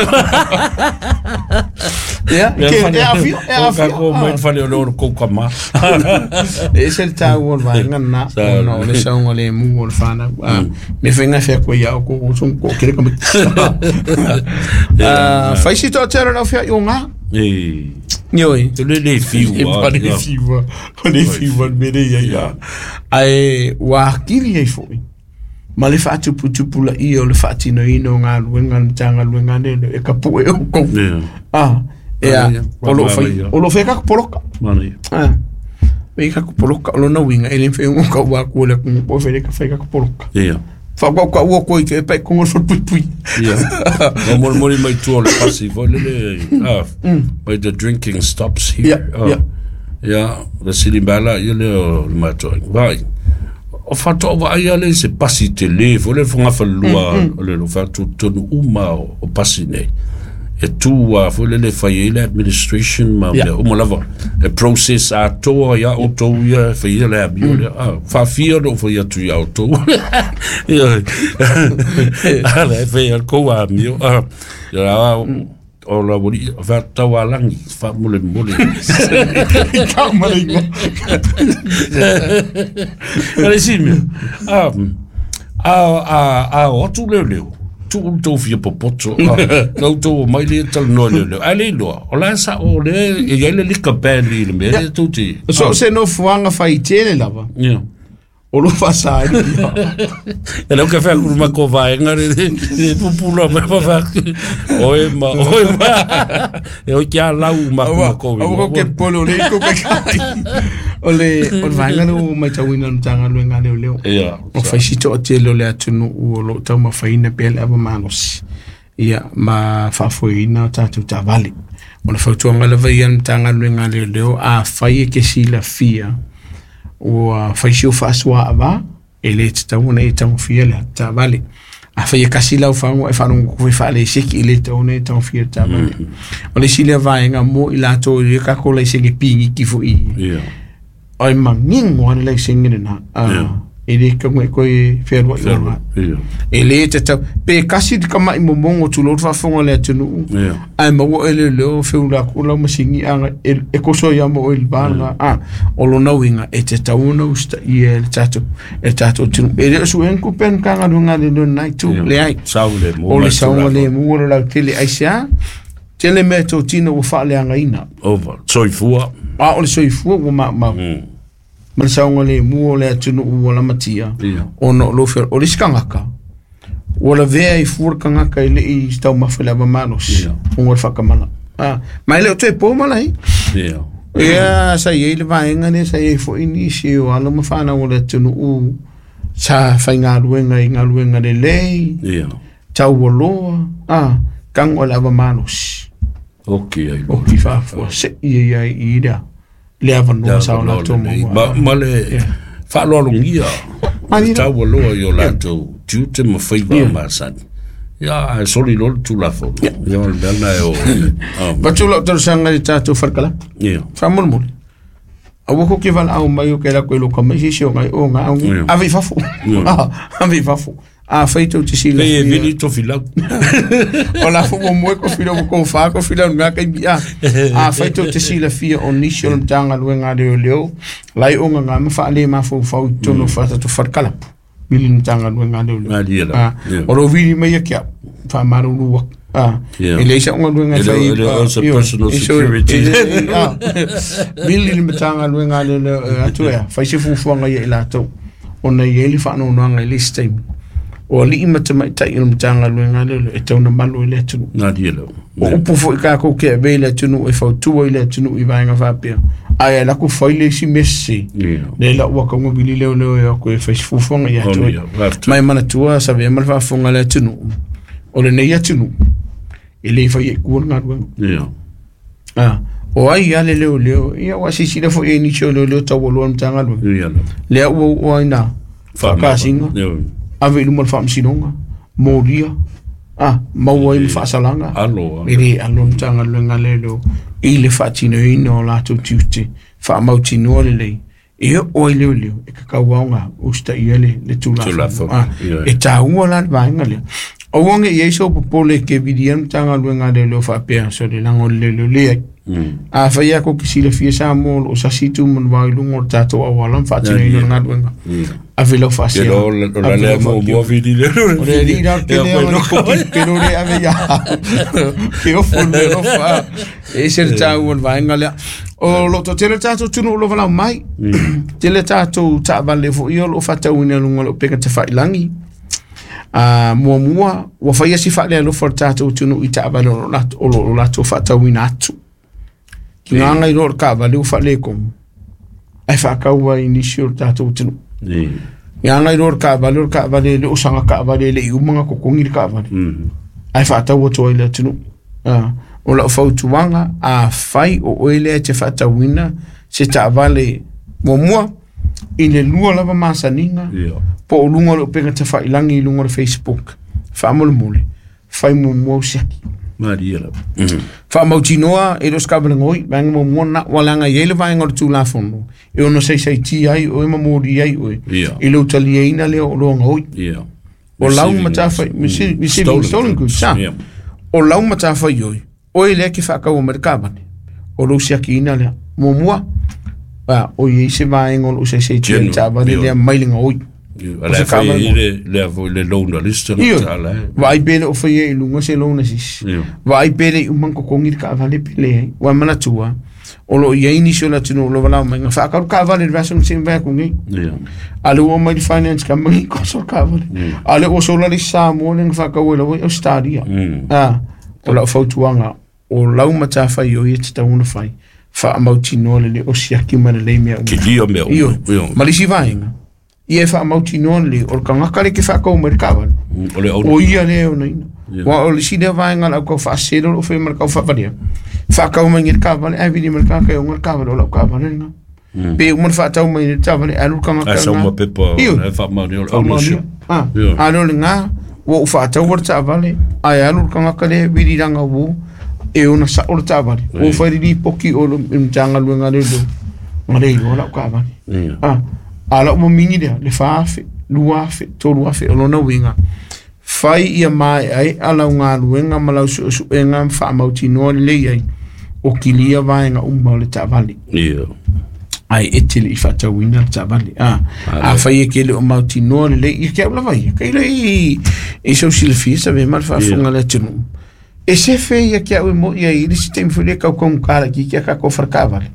Ia, ke e awhio, e awhio. Kako mai whale o le oro kouka mā. E se le tāu o le vaenga nā, ona o le saunga le mu o le whanau. Me whainga whea koe ia o ko o songo ko kere ka mai. Whai si tō tera rau whea i o ngā. Nioi. Te le le whiua. E pa le whiua. Pa le whiua mere ia ia. Ai wā kiri ei foi. Ma le whaatuputupu la ia o le whaatino ino ngā luenga le tānga luenga ne e ka pue o kou. Ah, ea, o lo whai, o lo whai kako poloka. Ah, whai kako poloka, o lo na winga, e le whai ungo ka ua kua le kungu po whai ka whai kako poloka. Ia. Wha ka ua koe ke e pai kongo le whai pui. Ia. O mori mori mai tua le pasi, whai le le, ah, mai the drinking stops here. Ia, ia. Ia, le sili mbala, ia le o le mātua. Vai. O whatoa wa ai ale se pasi te le, fo le whanga whalua, o le lo whatu tonu uma o pasi nei. E tū a fo le le whai e le administration ma mea, o malava, e process a toa ia o tau ia, whai le abio le, a whawhia no whai atu ia o tau. Ia, ala e whai al kou a mio, a, ia o la wori, wha tau a langi, wha mole mole. Ka mole ingo. Ale si mea, a, a, a, a, o atu leo leo, tu tau fia popoto, nau tau mai le tala noa leo leo. Ale loa, o la sa o le, e iai le lika band i le mea, le tau te. So se no fuanga whai tele lava. Ia. O lo whasa ai. E lau ka whea kuru mako vaenga re, re pupula me whawha. Oe ma, oe ma. E oi kia lau mako mako. Awa ko ke polo le ko ke kai. O le, o le vaenga le o mai tauina mtanga luenga leo leo. Ia. O whaisito o te leo le atunu u o lo tau mawhaina pea le awa manosi. Ia, ma whaafoina tātou tāwale. O le whautuanga lava ia mtanga luenga leo leo a whai e ke sila fia. O whaisio whaasua awa, E le tatau ona e tagofia le taavale. Afai e kasi lau fagu e faalogo foi faaleseki i le tatau ona e tagofia le taavale. O le isi lea vaega mo i latou i le tatou laisene pigiki foʻi o e manino lava le laisene lenā e lē tago e toe fealuai oga e lē tatau pe kasi le kamaʻi momogo tulou le faafofoga le atunuu ae maua oe leoleo feula aku lau masini aga e koso ia ma oe le va lena a o lona uiga e tatau ona usitaia e le tatou e le tatou atunuu e le o suʻega tupe a le Matagaluega a Leoleo lena itu leai o le saogalemu o le lautele aisea tele mea totino ua faaleagaina ova soifua a o le soifua ua maumau ma le saogalemu o le atunuu ua lamatia ona o lou feola o le isi tagata ua lavea i fua le tagata e leʻi taumafa i le ava malosi ona o le faatamala a ma e le o toe po malai ia sa iai le vaega lea sa iai foʻi nisi o alo ma fanau o le atunuu sa faigaluega i galuega lelei taualoa a tago le ava malosi oki ai oki faafoa seʻi ia i lea le avanoa sa o latou maua ma le faaaloalogia taualoa i o latou tiute ma faiva masani ia ae soli loa le Tulafono ia o le mea lena e o Vatu lau talosaga i le tatou falekalapu faamolemole aua ko ke valaau mai o ke lakou e loka mai se isi o gai o ga ave i fafo ave i fafo a fai tou te silafia e vili tofilau o la fo mo ko filo ko fa ko filo nga kai mi a a fai tou te silafia o nisi o le Matagaluega a Leoleo lai o nga ma faale mafaufau i totonu o tatou falekalapu vili le Matagaluega a Leoleo a o lo vili mai ia ke au faamalulu atu a e leai sa galuega e fai personal security vili le Matagaluega a Leoleo atu ea fai se fuafuaga ia i latou ona i ai le faanoanoaga i le isi taimi o alii ma tamaitai o le Matagaluega a Leoleo e tau na malu i le atunuu o upu foʻi takou ke avea i le atunuu e fautua i le atunuu i vaega faapea ae ala ku fai le isi mea sese le lau ua kauga vili leoleo e atu e fai se fuafuaga ia atu ma e manatua sa avea ma le faafofoga a le atunuu o lenei atunuu e lē fai ai tua le galuega a o ai a le leoleo ia ua silasila foʻi ai nisi o leoleo taualoa le Matagaluega lea ua oo ai na faakasiga ave i luma le faamasinoga molia a maua ai ma faasalaga e lē alo le Matagaluega a Leoleo i le faatinoina o latou tiute faamautinoa lelei e oo ai leoleo e kakau aoga usitaia le le Tulafono e taua la le vaega lea aua ne i ai sou popole ke vilia le Matagaluega a Leoleo faapea so le lago o le leoleo leai a fai a ko ke silafia Samoa o loo sasi tu manuvao i luga o le tatou auala ma faatinoina o le galuega ave lau faasea o le o le alii la o le tele aga le koki ke lo le ave ia ke ofo le alofa e ese le taua o le vaega lea o loo toatele le tatou atunuu o lo valaau mai tele tatou taavale foʻi o loo faatauina i luga o le upega tafailagi a muamua ua faia si faalealofa o le tatou atunuu i taavale o loo latou faatauina atu ki gaga i lo le taavale ua faaletonu ae faatau ai nisi o le tatou atunuu gaga i lo le taavale o le taavale e le o saga taavale e leʻi uma na totogi le taavale ae faatau atu ai le atunuu o lau fautuaga afai o oe lea e te faatauina se taavale muamua i le lua lava masaniga po o luga o le upega tafailagi i luga o le Facebook faamolemole fai muamua au siaki faamautinoa e le o se taavalegoi vaega muamua lena ua leaga i ai le vaega o le Tulafono e ono saisaitia ai oe ma moli ai oe i lou taliaina lea o oloa gaoi o lau matafai receiving stolen goods o lau matafaioi oe lea ke faataua mai le taavale o lou siakiina lea muamua o iai se vaega o loo saisaitia le taavale lea mai le gaoi o se taavale lea foi le loan list vaai pe le o faia i luga se loan assist vaai pe le uma totogi le taavale pe leai ua manatua o loo iai nisi o le atunuu o lo valaau mai na faatau le taavale i le vaiaso na seʻi mavae atu nei a le ua omai le finance company koso le taavale a le ua sola le isi Samoa lea na faatau ai lava i Australia a o lau fautuaga o lau matafaioi e tatau ona fai faamautinoa lelei o siaki ma lelei mea uma kilia mea uma ma le isi vaega ia e faamautinoa lelei o le tagata le ke faatau mai le taavale o ia lea e onaina ua o le isi lea vaega o le aukau faasese o loo fai ma le tau faavalea faatau mai le taavale ae vili mai le tagata e ona le taavale o lau taavale lena Pe uma whaatau mai le taavale alu kanga kanga. Ai sa pepa e whaamaoni o le ownership. Ah, alu le ngā ua u whaatau wa le taavale ai alu kanga kale wiriranga wo e ona sa o le taavale. O whairiri poki o le mtanga luenga le lo. Ngare i o lau kaavale. Ah, ala uma mingi lea le whaafe, luafe, tolu afe o lona winga. Whai ia mai ai ala o ngā luenga ma lau suesuenga whaamautinoa le lei ai o kilia vaenga uma o le taavale. Ia. Ai e tele i whaatauina le taavale. Ah, a whai e ke le o mautinoa le lei, ia kia ula vai. Kai le i, i sau silafia sa ve ma le whaafunga le atunu. E se fe ia kia ue mo ia i le si taimi fule kau kong kala ki kia kako wharakavale.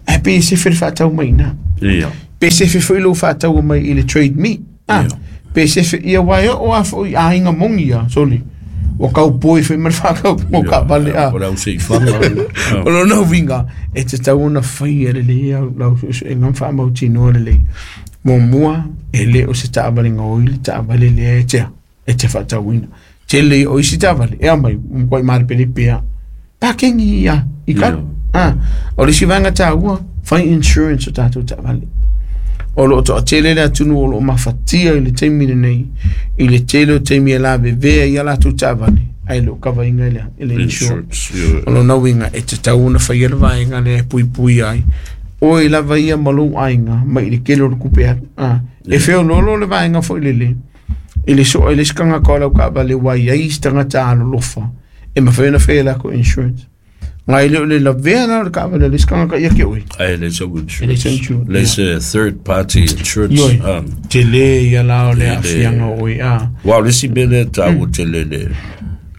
Ai pe e se fe le whaatau mai nā. Ia. Pe se fe fo i lo whaatau mai i le trade me. Ah, pe se fe ia wai o a fo i a inga mongi ia, soli. O kau poi fai ma whakau mo ka vale a. O lau se i whanga. O lo no winga. E te tau ona whai e le lei au lau e ngam whaamautinoa le lei. Mo mua e le o se taavale ngoi le taavale le e tea. E te whaatauina. Te le o isi taavale. E amai mkoi mare pere pea. Pakengi ia. I ka. Ah. O le si vanga tāua. Whai insurance o tātou taavale. O lo to tele le atunu o lo mafatia i le taimi nei i le tele o taimi e la vevea i ala tu taavale ai lo kava inga le le insurance o lo nawinga e te tauna whai ele vaenga le pui pui ai o i lava ia malo ainga mai i le kele o le kupe atu ah e feo lolo le vaenga fo i le le i le so i le skanga ka lau ka vale wai ai stanga ta alo lofa e mawhena whai la ko insurance ngai le le la vea le ka vale le skanga ka ia ke oi ai le so insurance le se third party insurance um te le ia la le afianga oi a wa le si bele ta o te le le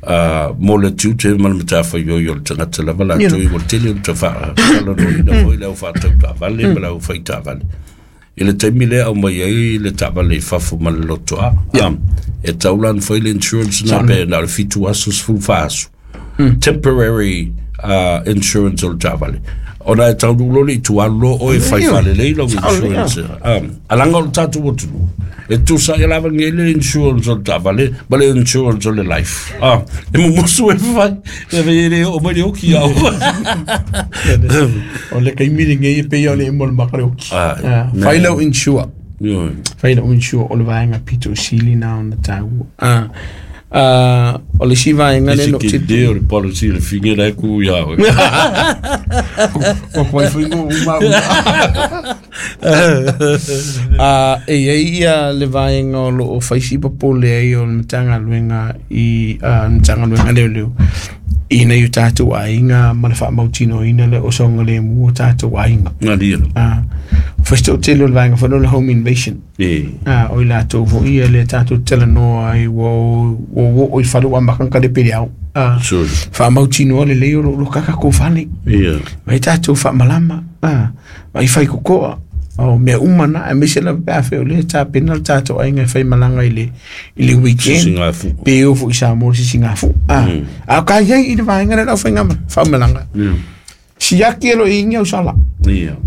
a mo le tu te mal mata fa yo yo tanga te la vala tu o te le te fa la no ina foi le fa ta ta vale la fa ta vale i le taimi lea au mai ai le taavale i fafo ma le lotoa e taulan foi le insurance na pe na le fitu aso sefulu fa aso temporary Uh, insurance o le taavale ona e taulu le i tualu o e faifale lei lau insurance um, alanga o le tatou atunuu e tusa e lava ngei le insurance o le taavale ma le insurance o le life ah, e mumusu e fai e ve le o mai le oki au o le kaimiri ngei e pei o le mo le makare oki fai lau insure fai lau insure o le vaenga pito sili na ona tau ah Uh, o le si vaenga le no te te o le policy le finge la ku ia o o kwai fingo uma a e ia le vaenga o lo o faisi popole ai o le matanga luenga i a matanga luenga le le i nei tātou ainga ma le whaamautino ina le o songa le mua tātou ainga ngā lia ah first o tele o le vaenga whanau le home invasion e ah o i lātou fo ia le tātou tele noa ai wo wo wo o i whalu a makanga le pere au ah whaamautino le leo lo kaka ko whale ia vai tātou whaamalama ah vai whai kokoa o mea uma na e mese la pea wheo le tā pena le tātou ainga e whai malanga i le i le weekend pe o fo i sa mo si ngā fu ah a ka iai i le vaenga le lau whai ngama whaamalanga siaki e lo ingi au sala ia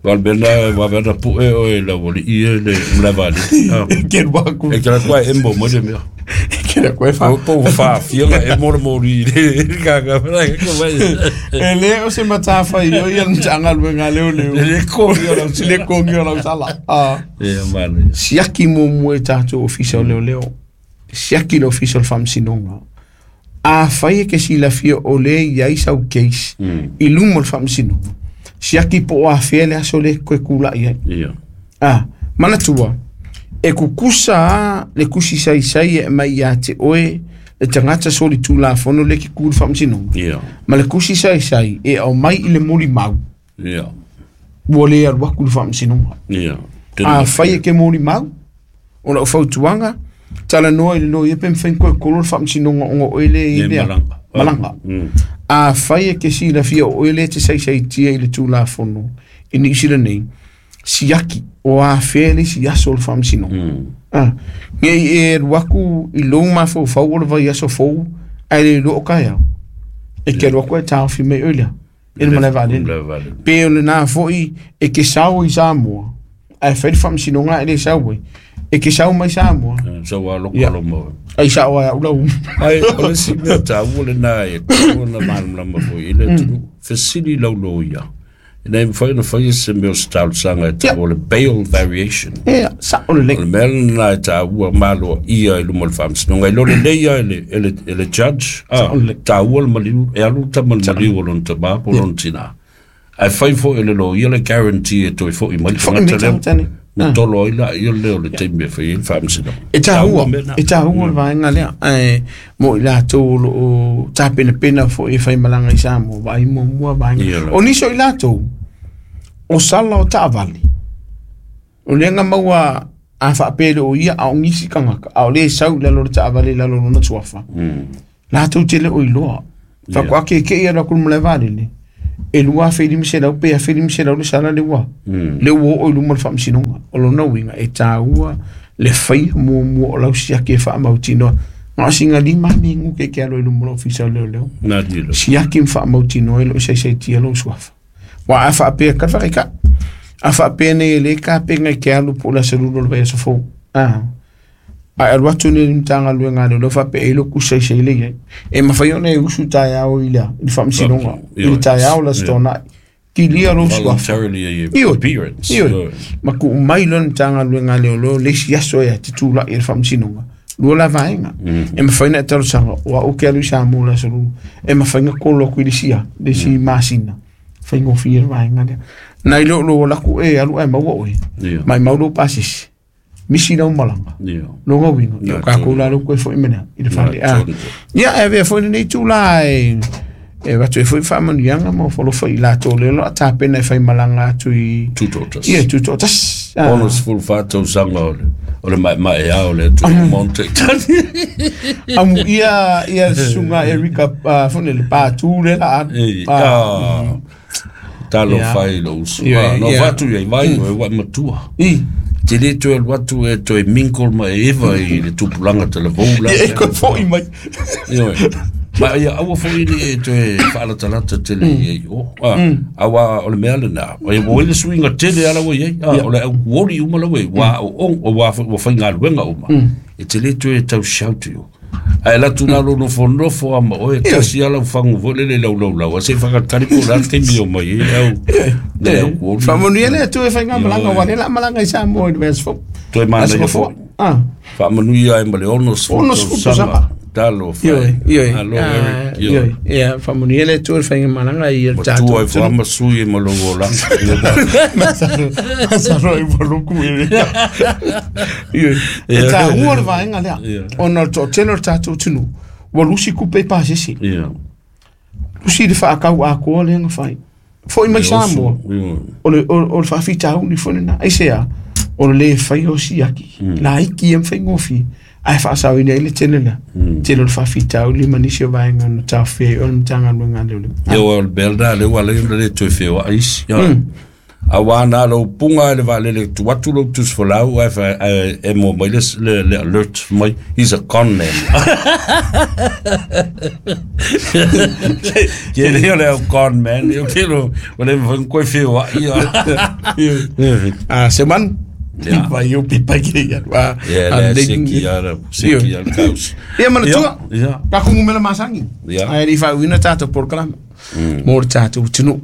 Wal bena wa bena pu e o e la woli i e le mlavali ke waku e kala kwa embo mo de mea ke la kwa fa po fa fia e mo mo ri ka ka ka mai e le o se matafa io ia ntanga luenga leo leo le ko io la le ko io la sala ah e man siaki mo mo e tato ofisa leo leo siaki lo ofisa fam sinonga a fai ke si la fia o le ia i sau case i lumo fam sinonga siaki po a fele aso le koe kula ia. Ia. Ah, manatua. E kukusa le kusi sai sai e mai ia te oe le tangata soli tula fono le ki kulu whamsino. Ia. Ma le kusi sai sai e au mai i le moli mau. Ia. Ua le aru aku le whamsino. Ia. A whai e ke moli mau. O la ufautuanga. Tala noa i le noa i epe mwhain koe kolo le whamsino nga oe le i lea. Malanga. Malanga. Mm. A whai e ke si la fia o ele te sai sai tia i le tūla fono i ni isila nei siaki o a whele si aso le whamsino. Mm. Ah, ngei e ruaku i lou mafau fau o le vai aso fou ai le lo o kai au. E ke ruaku e tāwhi mei oilea. E le maleva alele. Pe o le nā foi e ke sao i Samoa. Ai whai le whamsino ngā e le sao e. E ke sao mai Samoa. Sao a loko lo mo. Ai sao ai ula um. Ai o le si mea tāua le nā e tō na malamlama foi i le tunu. Fesili lau lo ia. Ina e mawhai na whai se meo se talosaga e ta'ua o le bail variation. Ia, sa'o lelei. O le mea lenā e tāua malo ia i luma o le faamasinoga. I lo lelei ia e le, e le, e le judge, a, tāua le maliu, e alu tama le maliu o lona tamā po o lona tinā. Ae fai fo'i e le loia le guarantee e toe fo'i mai le tagata lea. Na tolo ai laia lea o le taimi e fai ai le faamasinoga. E tāua, e tāua le vaega lea, ae mo i latou o loo tapenapena fo'i e faimalaga i Samoa, vaai muamua vaega. O nisi o i latou, o sala o taavale, o lea na maua a faapea le o ia a o nisi tagata, a o lē sau i lalo o le taavale i lalo o lona suafa. Latou te le o iloa. Faatoa keke'i alu atu i le malae vaalele, e lua afe lima selau pe afe lima selau le sala le ua. Le ua oo i luma o le faamasinoga. O lona uiga e tāua le faia muamua o lau siaki e faamautinoa. Na o sina lima minute e ke alo i luma o le ofisa o leoleo. Siaki ma faamautinoa e loo saisaitia lou suafa. Ua a faapea ka whakaika. A faapea nei e le kapenga i ke alu po o le aso lua o le vaiaso fou. Ah. Ae alu atu nei le Matagaluega a Leoleo faapea e iloa kusaisai le iai. E mawhai ona e usu taeao i le, i le faamasinoga, i le taeao le aso tona'i. Kilia lou suafa. Voluntarily Ioe, appearance. ioe. Ma tuu mai loa le Matagaluega a Leoleo le isi aso e te tula'i i le faamasinoga. Lua la vaega. E mawhai na e talosaga, o au ke alu i Samoa le aso lua. E mawhai na kolo atu i le isi a, le isi masina. Faigofie le vaega lea. Nai lo lo laku e alu ae maua oe. Mai mau lou pasese. Misi lau malaga. Longa uiga. Ia o kākou la lou koe fo'i mai i le fale. Ah. Ia e avea foi lenei tūlā e e avatu ai foi faamanuiaga ma ofalofa i latou lea o lo o tapena e faimalaga atu i Tutoatasi. Ia, Tutoatasi. Ah. Ono sefulu fa tausaga o le o le maemae a o le atunuu Monte Itali. Amu ia ia le susuga Erika uh, foi le pātū le la alu. Ei, Ah. ah, talo Ia. fai lo usu. Ia, Ah, no ia. fatu ia i vai o e wa matua. I. Te le toe alu atu e toe mingle ma e eva i le tupulaga talavou la. Ia e koe fo'i mai. Ioe. Ma ia aua fo'i ni e toe faalatalata tele i ai o. Ah, aua o le mea lenā. O e ua i le suiga tele ala ua i ai. Ah, o le au kuoli uma lau e. Ua o ong, o ua ua faigaluega uma. E te le toe tau shout i o. Ae latu nā lo nofo nofo a ma oe, tasi ala ufangu fo lele lau lau lau. A se whakatari po la te mio mai e au. Le au kuoli. Faamanuia le Atua e faigāmalaga, ua le la malaga i Samoa i le vaiaso fou. Toe mana Aso ia fofoa. fo'i. Ah. Faamanuia ai ma le ono sefulu Ono sefulu tausaga. tausaga. Talo fai. Ioe, ioe. Alo, Ah, Eric. Ioe. Ioe. Ia, faamanuia le Atua e faigāmalaga i le Matua tatou ai whaama sui e ma lou olaga. Masalo, masalo i waluku e. Ioe. E tāua le vaega lea. Ia. Ona o le toatele o le tatou atunuu, ua lusi kupe i pasese. Ia. Lusi le faakau atoa lea na fai. Fo'i mai Samoa. Ioe. O le, o, o le faafitauli foi lenā. Aisea, o le lē faia o siaki. Laiti ia ma faigofie. Ae faasaoina ai le tele lea. Tele o le faafitauli ma nisi o vaega na taofia ai o le Matagaluega a Leoleo. Ia o le mea lenā lea ua ala ai ona le toe feoai isi. Ia. Auā na lou puga i le vaalele tu atu lou tusifolau ae fa- ae e mua mai le, le, le alert mai, he's a con man. Ke lea o le au con man, ia ke lo, o le mawhai koe feoai ia. Ah, se manu. Ia. Vai o pipa ki ia. Ah, Ia, ah, le le- seki ala, seki ala kausi. Ia manatua. Ia, Ka kungumela masangi. Ia. Ae le faauina tatou polokalame. Mo le tatou atunuu.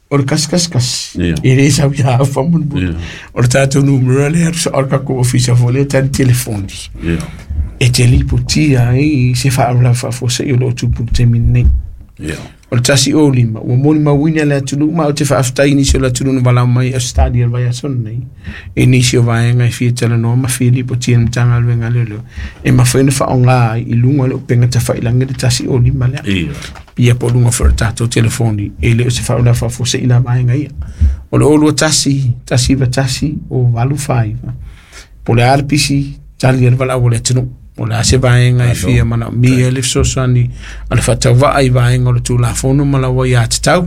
O le kasi kasi kasi. Ia. E le sau ia faamolemole. Ia. O le tatou numera lea o le tatou ofisa foi lea tali telefoni. ia, E te lipotia ai se faalavelave faafuasei o loo tupu i le taimi lenei. ia. O le tasi o lima, ua molimauina le atunuu ma o te faafetai i nisi o le atunuu na valao mai Australia i le vaiaso lenei. E nisi o vaega e fia talanoa ma fia lipotia i le Matagaluega a Leoleo. E mafai ona faaaoga ai i luga o le upega tafailagi le tasi o lima lea. Ia. Ia po o luga foi o le tatou telefoni e le o se faalavelave faafuasei la vaega ia. O le o lua tasi, tasi iva tasi, o valu faiva. Po o le a le pisi, tali ai le valaau o le atunuu. O le a se vaega e fia manaomia le fesoasoani a le faatauvaa i vaega o le Tulafono ma lau ai atatau.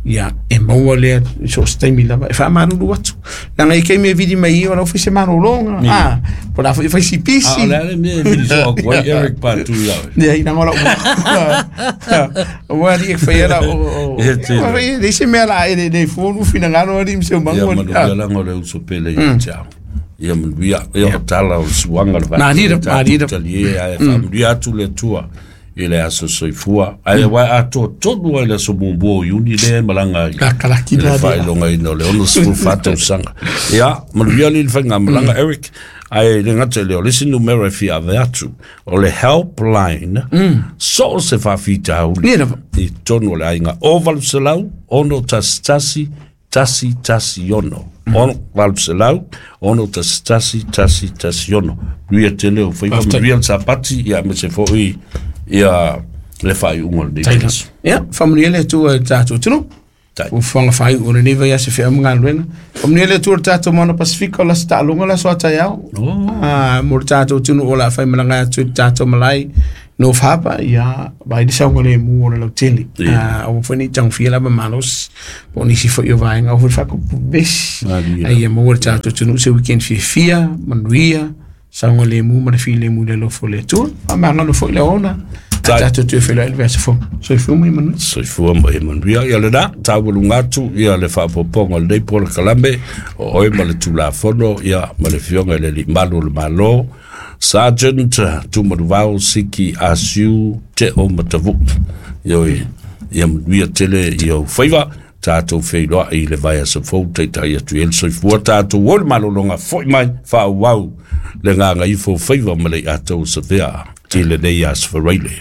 Ia, e maua lea i so o se taimi lava e faamalulu atu. Leaga i taimi e vili mai ia o lau fai se malologa. Ah, po o le a foi e fai si Ah, o pisi. le a le mea e vili soa atu ai Eric Patu ia oe. Ia, ina ngola ua. Ua ali e whai ala o... o- Ia, tele. Ua whai, le se mea la e le le fonu finangalo ali mse o Ia mangu. manuia langa o le uso pele ia te au. Ia manuia, ia o tala o le suaga le Nā rira, nā rira. Talie ae faamanuia atu le Atua I le aso soifua. Ae wa atoa tonu ai le aso muamua o Iuni le malaga ai. Lakalaki I le la dia. Faailogaina o le ono sefulu fa tausaga. Ia, manuia le faigamalaga Eric. Ae le gata i lea, o le isi numera e fia ave atu, o le helpline, so o se faafitauli Ia lava. I tonu o le aiga o valu selau, ono tasi tasi, tasi tasi ono. Ono valu selau, ono tasi tasi, tasi tasi ono. Manuia tele o faiva, Faafetai. Manuia le sapati, ia aemaise foi ia le faaiuga o lenei vaiaso. Ia, faamanuia le Atua i le tatou atunuu. Tai. Fuafuaga faaiu o lenei vaiaso feau ma galuega. Faamanuia le Atua i le tatou Moana Pasifika o le aso taaloga le aso a taeao. Oh. Ah, mo le tatou atunuu o le a faimalaga atu i le tatou malae North Harbour, ia, vai le saogalemu o le lautele. Ia. Ah, aua foi ne i tagofia lava malosi po o nisi foi o vaega aua foi le faakupu vesi. Malie. Ai ia maua le tatou atunuu se weekend fiafia, manuia, saogalemu ma le filemu i le alofa o le Atua. Faamagalo foi le aoga. Tai. Tatou toe feiloai le vaiaso fou. Soifua ma ia manuia. Soifua ma ia manuia. Ia lena, taualuga atu ia le faaopoopoga o lenei polokalame o oe ma le Tulafono ia ma le Afioga i le Alii Malu o le Malo, Sergeant Tumanuvao Siki Asiu Teo Matavuu. Ioe, ia manuia tele i ou faiva, tatou feiloai i le vaiaso fou taitai atu i ai le soifua tatou o le malologa foi mai faaauau le gagaifo faiva ma le iatau o Savea i lenei aso Faraile.